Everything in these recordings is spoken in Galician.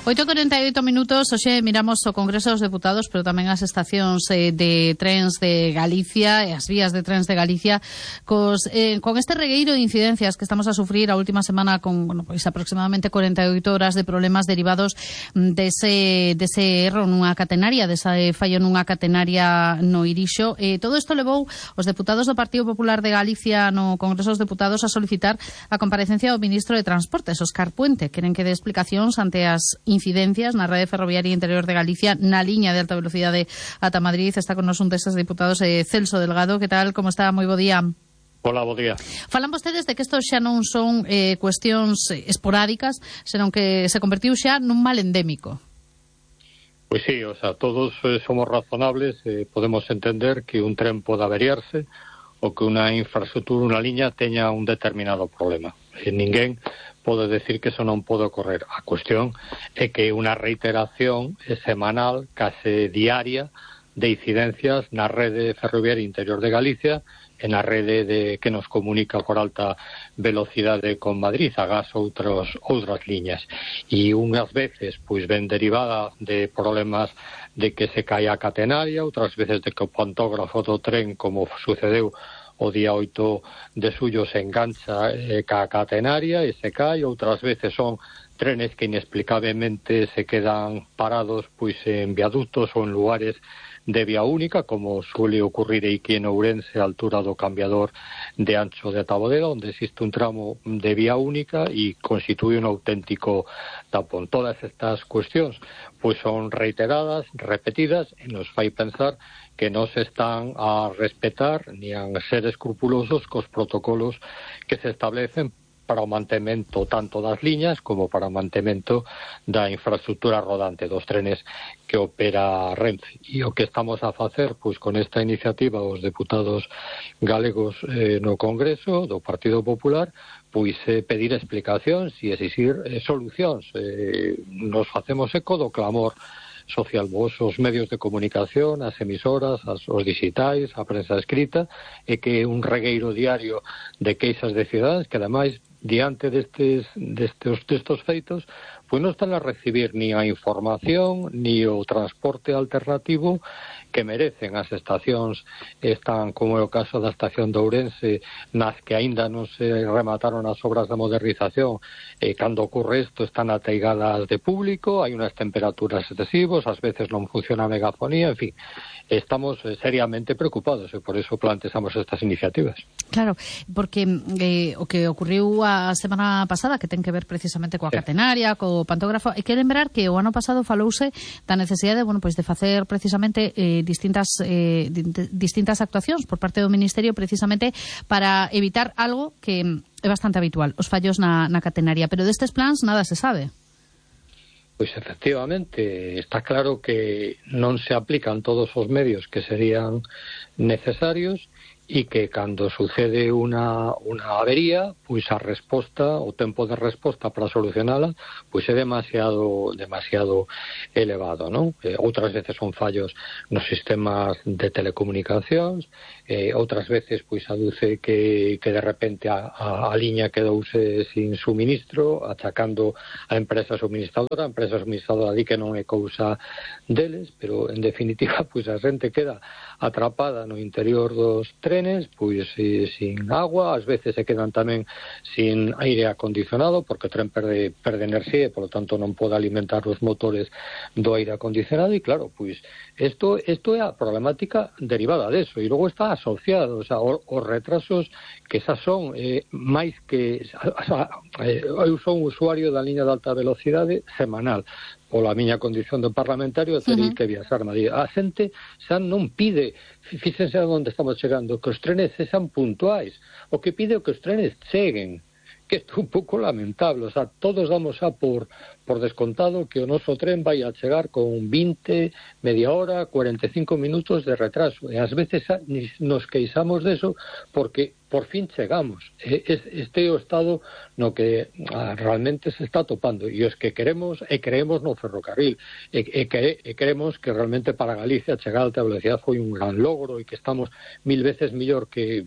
8:48, hoxe miramos o Congreso dos Deputados, pero tamén as estacións de trens de Galicia e as vías de trens de Galicia con este regueiro de incidencias que estamos a sufrir a última semana con, pois aproximadamente 48 horas de problemas derivados dese erro nunha catenaria, dese fallo nunha catenaria no Irixo. Todo isto levou os deputados do Partido Popular de Galicia no Congreso dos Deputados a solicitar a comparecencia do ministro de Transportes, Óscar Puente. Queren que dé explicacións ante as incidencias na rede ferroviaria interior de Galicia na liña de alta velocidade ata Madrid. Está con nos un destes deputados, Celso Delgado. Que tal? Como está? Moi bo día. Hola, bo día. Falan vostedes de que isto xa non son cuestións esporádicas, senón que se convertiu xa nun mal endémico. Pois sí, todos somos razonables, podemos entender que un tren pode averiarse ou que unha infraestructura, unha liña, teña un determinado problema. Ninguén pode decir que eso non pode ocorrer. A cuestión é que unha reiteración semanal, case diaria, de incidencias na rede ferroviaria interior de Galicia e na rede que nos comunica por alta velocidade con Madrid, agás outras liñas. E unhas veces pois ven derivada de problemas de que se cae a catenaria, outras veces de que o pantógrafo do tren, como sucedeu o día 8 de xullo, se engancha ca catenaria e se cae. Outras veces son trenes que inexplicablemente se quedan parados pois en viaductos ou en lugares de vía única, como suele ocurrir aquí en Ourense, a altura do cambiador de Ancho de Tabodera, onde existe un tramo de vía única e constituye un auténtico tapón. Todas estas cuestións pois son reiteradas, repetidas, e nos fai pensar que non se están a respetar ni a ser escrupulosos cos protocolos que se establecen para o mantemento tanto das liñas como para o mantemento da infraestructura rodante dos trenes que opera Renfe. E o que estamos a facer pois con esta iniciativa os deputados galegos no Congreso do Partido Popular pois pedir explicacións e exixir solucións. Nos facemos eco do clamor social, os medios de comunicación, as emisoras, os digitais, a prensa escrita, e que un regueiro diario de queixas de cidadáns que ademais diante destes feitos pois non están a recibir ni a información ni o transporte alternativo que merecen. As estacións están, como é o caso da estación de Ourense, nas que aínda non se remataron as obras de modernización, cando ocurre isto están ateigadas de público, hai unhas temperaturas excesivas, ás veces non funciona a megafonía, en fin, estamos seriamente preocupados e por eso plantexamos estas iniciativas. Claro, porque o que ocurriu a semana pasada, que ten que ver precisamente coa catenaria, co pantógrafo, hai que lembrar que o ano pasado falouse da necesidade de facer precisamente distintas actuacións por parte do Ministerio precisamente para evitar algo que é bastante habitual, os fallos na catenaria, pero destes plans nada se sabe. Pois efectivamente, está claro que non se aplican todos os medios que serían necesarios e que cando sucede unha avería, pois a resposta, o tempo de resposta para solucionala, pois é demasiado elevado, non? Outras veces son fallos nos sistemas de telecomunicacións, outras veces pois aduce que de repente a liña quedouse sin suministro, achacando a empresa suministradora di que non é cousa deles, pero en definitiva pois a xente queda atrapada no interior dos trenes, pois sin agua, ás veces se quedan tamén sin aire acondicionado, porque o tren perde enerxía e, polo tanto, non pode alimentar os motores do aire acondicionado, e claro, pois isto é a problemática derivada deso, e logo está asociado, os retrasos que xa son máis que... eu son usuario da liña de alta velocidade semanal, pola miña condición de parlamentario, teria que viaxar a Madrid. A xente xa non pide, fíxense onde estamos chegando, que os trenes sexan puntuais, o que pide é que os trenes cheguen, que é un pouco lamentable. Todos damos por descontado que o noso tren vai a chegar con 20, media hora, 45 minutos de retraso, e ás veces nos queixamos deso porque por fin chegamos. Este é o estado no que realmente se está topando, e os que queremos e creemos no ferrocarril e queremos que realmente para Galicia chegar a alta velocidade foi un gran logro e que estamos 1000 veces mellor que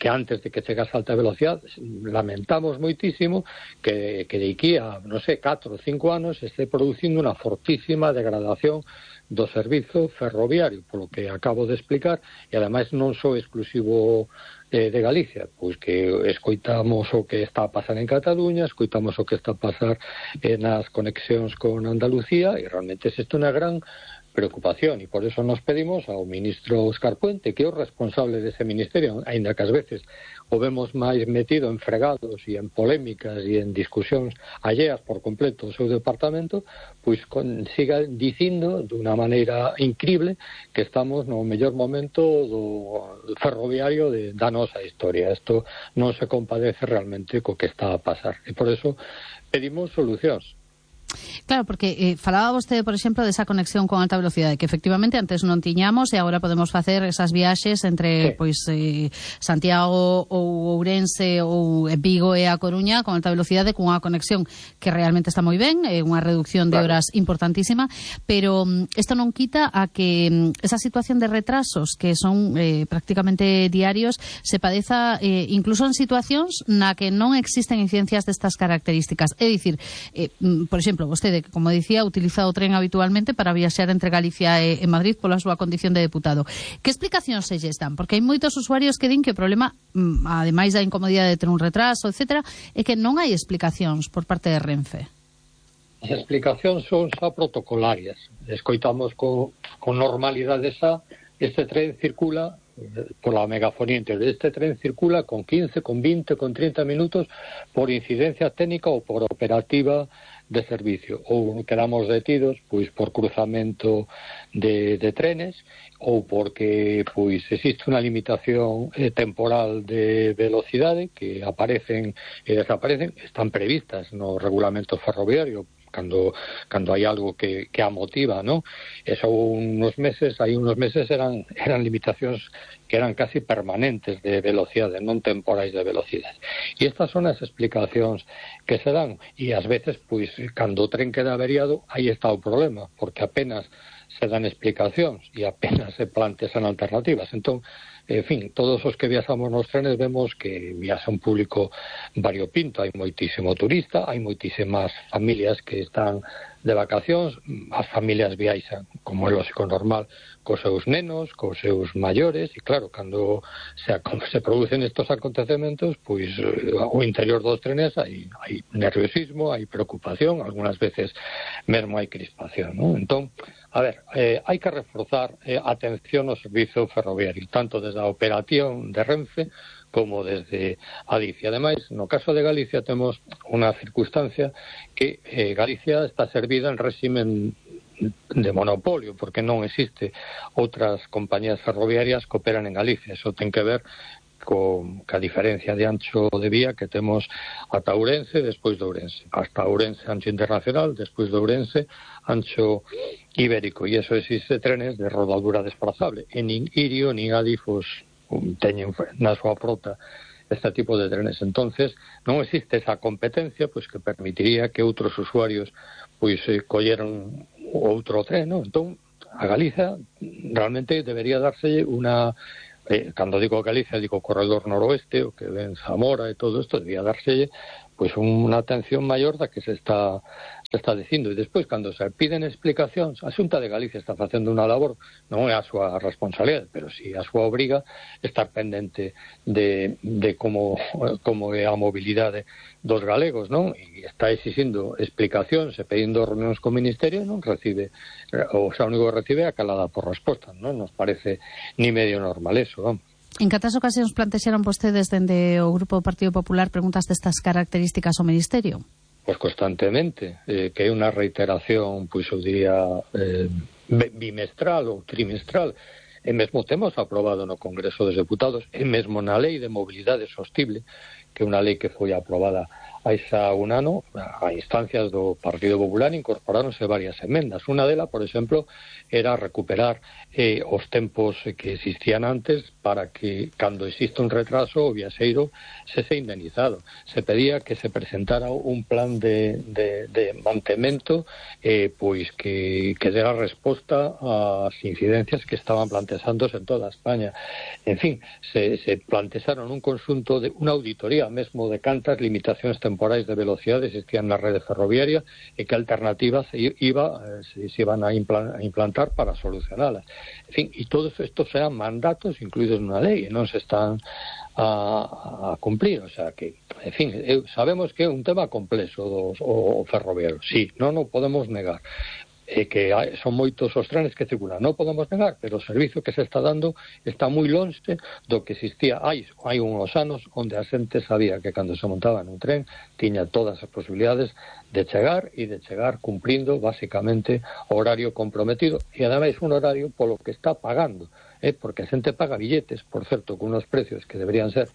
antes de que chegase a alta velocidade. Lamentamos moitísimo que de aquí a, non sei, 4 ou 5 anos este producindo unha fortísima degradación do servizo ferroviario, polo que acabo de explicar, e ademais non só exclusivo de Galicia, pois que escoitamos o que está a pasar en Cataluña, escoitamos o que está a pasar nas conexións con Andalucía, e realmente isto é unha gran preocupación, e por eso nos pedimos ao ministro Óscar Puente, que é o responsable dese ministerio, aínda que ás veces o vemos máis metido en fregados e en polémicas e en discusións alleas por completo ao seu departamento, pois siga dicindo dunha maneira incrible que estamos no mellor momento do ferroviario da nosa historia. Isto non se compadece realmente co que está a pasar, e por eso pedimos solucións. Claro, porque falaba vostede, por exemplo, desa conexión con alta velocidade, que efectivamente antes non tiñamos e agora podemos facer esas viaxes entre Santiago ou Ourense ou Vigo e a Coruña con alta velocidade, cunha conexión que realmente está moi ben, unha reducción de horas importantísima, pero isto non quita a que esa situación de retrasos que son prácticamente diarios se padeza incluso en situacións na que non existen incidencias destas características. É dicir, por exemplo, vostede, que, como dicía, utiliza o tren habitualmente para viaxar entre Galicia e Madrid pola súa condición de deputado. Que explicacións se lles dan? Porque hai moitos usuarios que din que o problema, ademais da incomodidade de ter un retraso, etc., é que non hai explicacións por parte de Renfe. As explicacións son xa protocolarias. Escoitamos con normalidade xa este tren circula pola megafonía interior. Este tren circula con 15, con 20, con 30 minutos por incidencia técnica ou por operativa de servicio, ou quedamos detidos pois por cruzamento de trenes, ou porque pois existe unha limitación temporal de velocidade que aparecen e desaparecen, están previstas no regulamento ferroviario cando hai algo que a motiva, ¿no? Eso hai unos meses eran limitacións que eran casi permanentes de velocidade, non temporais de velocidade. E estas son as explicacións que se dan, e ás veces, pois, cando o tren queda averiado, aí está o problema, porque apenas se dan explicacións e apenas se plantean alternativas. Entón, en fin, todos os que viaxamos nos trenes vemos que viaxa un público variopinto, hai moitísimo turista, hai moitísimas familias que están de vacacións, as familias viaxan, como é lógico normal, cos seus nenos, cos seus maiores, e claro, cando se producen estos acontecementos, pois o interior dos trenes hai nerviosismo, hai preocupación, algunhas veces mesmo hai crispación, ¿no? Entón, a ver, hai que reforzar a atención ao servizo ferroviario, tanto desde a operación de Renfe como desde Adif. E ademais, no caso de Galicia temos unha circunstancia que Galicia está servida en réximen de monopolio, porque non existe outras compañías ferroviarias que operan en Galicia. Eso ten que ver ca diferencia de ancho de vía que temos ata Ourense, despois de Ourense, hasta Ourense ancho internacional, despois de Ourense ancho ibérico, e eso existe trenes de rodadura desplazable, e nin Irio nin Adif teñen na súa frota este tipo de trenes. Entonces non existe esa competencia pois que permitiría que outros usuarios pois colleran outro tren, ¿no? Entón, a Galicia realmente debería darse unha cando digo Galicia, digo Corredor Noroeste, o que ven Zamora e todo isto, debía dárselle pois unha atención maior da que se está dicindo. E despois, cando se piden explicacións, a Xunta de Galicia está facendo unha labor, non é a súa responsabilidade, pero si a súa obriga estar pendente de como é a mobilidade dos galegos, non? E está exigindo explicacións e pedindo reunións co Ministerio, non recibe, o xa único que recibe é a calada por resposta, non? Nos parece ni medio normal eso, vamos. En cantas ocasións plantexaron vostedes dende o Grupo do Partido Popular preguntas destas características ao Ministerio? Pois constantemente, que é unha reiteración, pois eu diría, bimestral ou trimestral. E mesmo temos aprobado no Congreso dos Deputados, e mesmo na Lei de Mobilidade Sostible, que é unha lei que foi aprobada hai xa un ano, a instancias do Partido Popular, incorporáronse varias emendas. Unha delas, por exemplo, era recuperar os tempos que existían antes para que, cando existe un retraso, o viaxeiro se indemnizado. Se pedía que se presentara un plan de mantemento pois que dera resposta ás incidencias que estaban planteándose en toda España. En fin, se plantearon un conxunto de unha auditoría mesmo de cantas limitacións temporais de velocidade existían na rede ferroviaria e que alternativas se iban a implantar para solucionalas. En fin, e todos estos eran mandatos incluídos nunha lei e non se están a cumplir, o sea que, en fin, sabemos que é un tema complexo o ferroviario, sí, non o podemos negar, que son moitos os trenes que circulan, non podemos negar, pero o servizo que se está dando está moi lonxe do que existía hai uns anos onde a xente sabía que cando se montaba nun tren tiña todas as posibilidades de chegar cumplindo basicamente o horario comprometido e ademais un horario polo que está pagando, porque a xente paga billetes, por certo, con unos precios que deberían ser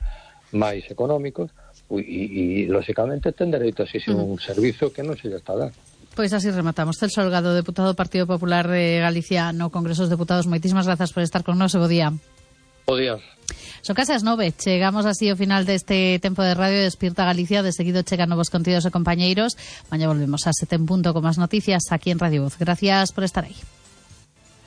máis económicos e lóxicamente ten dereito a exigir un servizo que non se lle está dando. Pois así rematamos. Celso Holgado, deputado do Partido Popular de Galicia no Congreso dos Deputados, moitísimas grazas por estar con nós, bo día. Bo día. Son case as 9, chegamos así ao final deste tempo de radio de Despierta Galicia, de seguido chegan novos contidos e compañeiros. Mañá volvemos a 7 en punto con máis noticias aquí en Radio Voz. Gracias por estar aí.